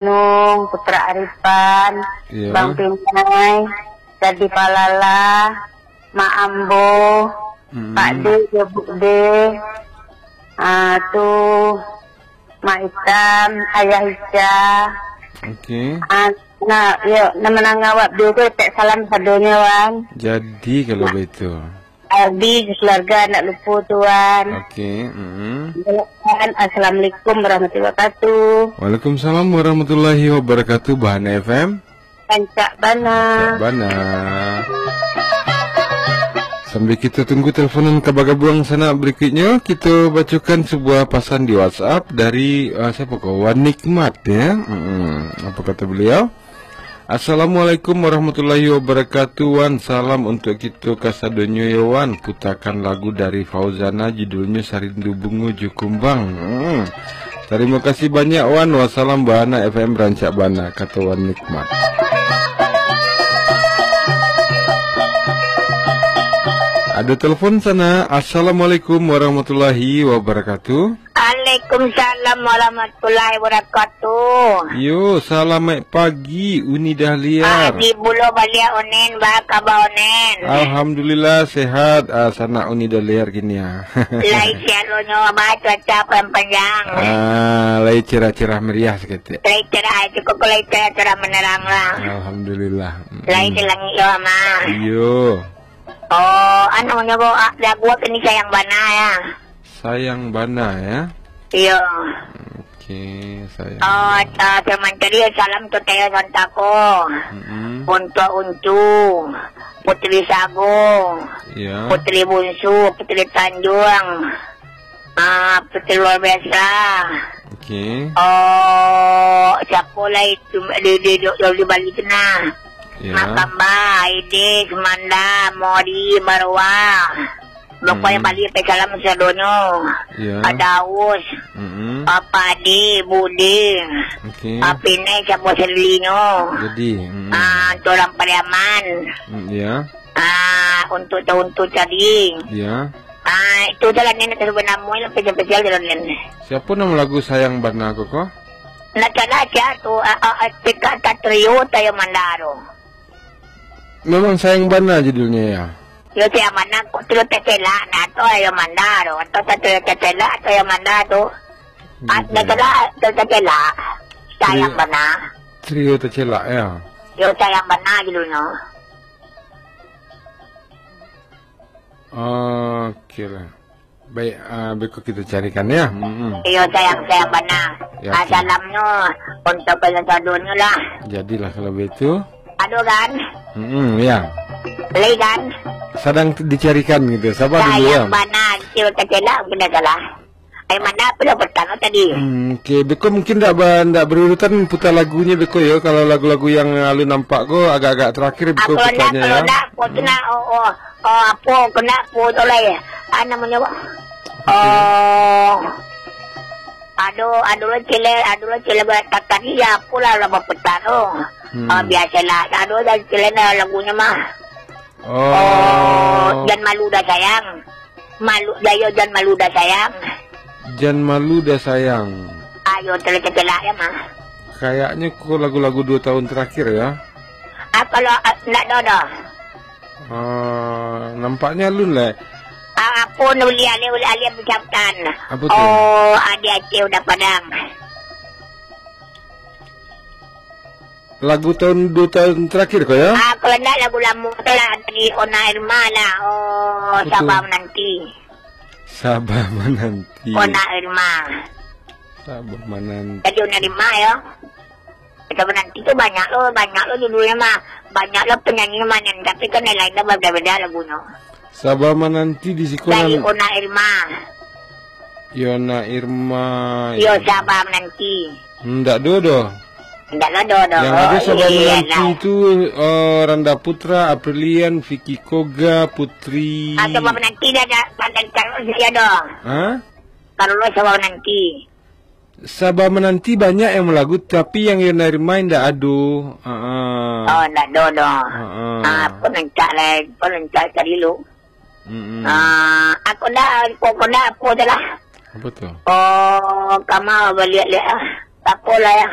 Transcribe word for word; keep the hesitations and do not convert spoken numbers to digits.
Nung, Putra Arifan, Iya. Bang Pinai, Dadi Palala, Mak Ambo, Mm-mm. Pak De, Buk De, ah, tu, Mak Itam, Ayah Ica. Oke. Ah, nah, yo, nama nangawak dulu, tak salam sadonyo, Wan. Jadi, kalau Mak begitu. Aldi, keluarga, ndak lupa, Tuan. Oke, mm-mm. Assalamualaikum warahmatullahi wabarakatuh. Waalaikumsalam warahmatullahi wabarakatuh, Bahana F M. Rancak bana. Rancak bana. Sambil kita tunggu teleponan ka bagabuang sanak berikutnya, kita bacakan sebuah pasan di WhatsApp dari, ah, siapa ko? Wan Nikmat, ya. Mm-mm. Apa kata beliau? "Assalamualaikum warahmatullahi wabarakatuh, Wan. Salam untuk kita kasadonyo, yo, Wan. Putakan lagu dari Fauzana, judulnyo Sarindu Bungo Jo Kumbang." Hmm. Tarimo kasih banyak, Wan. Wassalam, Bahana F M rancak bana, kato Wan Nikmat. Ada telepon sana. Assalamualaikum warahmatullahi wabarakatuh. Waalaikumsalam warahmatullahi wabarakatuh. Yo, salamaik pagi, Uni Dahliar. Pagi pulo baliak, Onen, ba kaba, Onen? Alhamdulillah, sehat, ah, sanak Uni Dahliar kini, ah. Lai siaronyo, ba cuaca awan panjang. Ah, lai cerah-cerah meriah saketek. Lai cerah, cukup lai cerah-cerah menerang lah. Alhamdulillah. Mm-mm. Lai di langik yo, mah. Iyo. Oh, anu nyo, bo, ah, lagu apo ni, Sayang Bana, ya? Sayang Bana, ya? Iyo. Oke, Sayang Oh, Bana. ta-, firman tadi, salam tu Taya Santako. Mm-mm. Untuk Uncu, Putri Sago, Ya. Putri Bunsu, Putri Tanjuang, ah, Putri Luar Biasa. Oke. Oh, siapo lai tu, di, di, di, di Bali tu nah. Ya. Mak Kamba, Aide, Sumanda, Mori, Barua. Pokoknyo Hmm. Bali, pe salam sadonyo. Ya. Adaus, Mm-mm. ah, Padi, Budi, Oke. ah, Pinai, siapo selinyo. Jadi, mm-mm. Ah, tu urang Pariaman. Mm, ya. Ah, untuk tahun tu tadi. Ya. Ah, itu jalan ni nak terubah nama lah, spesial-spesial jalan ni. Siapa nama lagu Sayang Bana ko, ko? Nak salah aja tu, ah, ah, ah, Tika Satrio Tayo Mandaro. Memang Sayang Bana judulnya, ya? Yo, Sayang Bana, kok tu tetelak, nah, tu Tayo Mandaro, atau Satrio Tetelak, Tayo Mandaro tu. Ah, Gitu, nak ya. salah, tu tetelak. Sayang Trio, Bana. Trio Tetelak, ya? Yo, Sayang Bana judulnya. Oke lah. Baik, ah, beko kita carikan, ya. Mm-mm. Iyo, Sayang, Sayang Bana. Ya, Ah, oke. Salamnyo untuk penontonyo lah. Jadilah kalau begitu. Ado kan? Mm-mm, ya. Lai kan? Sadang dicarikan gitu. Sabar dulu, ya. Sayang Bana, kecil kecil lah, mungkin dah salah. Ai, mana apo lah pertama tadi? Hmm, oke. Beko mungkin ndak ba-, ndak berurutan putar lagunyo beko yo. Kalau lagu-lagu yang alun nampak ko agak-agak terakhir beko Ah, kalau ndak, putarnyo kalau ya. ndak, kau tu Hmm. nak, oh, oh, oh, apo, kena apo tu lah ya. Ah, namonyo, Oke. oh, ado, ado lah cile, ado lah cile buat tadi ya, apo lah, lah berputar tu. Hmm. Ah, biasalah, ado lah cile lah lagunyo mah. Oh. Oh, jan malu dah sayang. Malu dah yo, jan malu dah sayang. Jan malu dah sayang. Ayo, telah-telah ya, mah. Kayaknya ko lagu-lagu dua tahun terakhir ya. Ah, kalau, ah, ndak ado dah. Ah, nampaknya alun lah. Ah, apo ni ulih alih, ulih alih ucapkan. Apa tu? Oh, adik Aceh udah padang. Lagu tahun, dua tahun terakhir ko ya? Ah, kalau ndak lagu lamo tu lah, dari Ona Irma lah. Oh, Apa tu? Sabar Menanti. Sabar Menanti. Ona Irma. Sabar Menanti. Jadi Ona Irma ya. Sabar Menanti tu banyak lo, banyak lo judulnya mah. Banyak lo penyanyi mah, tapi kan lain-lain dah beda-beda lagunya. Sabar Menanti di siko Dari nan Ona Irma. Yona Irma. Yo, Sabar Menanti. Ndak do doh. Ndak lah do doh. Yang ada Sabar Iya, Menanti lah. tu, eh, Randa Putra, Aprilian, Vicky Koga, Putri. Ah, Sabar Menanti dah ada, ada taruh saja doh. Hah? Taruh Sabar Menanti. Sabar Menanti banyak yang malagu, tapi yang Yona Irma ndak ado. Ha ah. Oh, ndak do doh. Ha ah. Ah, pun encak lah, pun encak cari lu. Mm-mm. Ah, aku ndak, aku, aku ndak, aku je lah. Apa tu? Oh, kama baliak-liak ah. Tak apalah ya.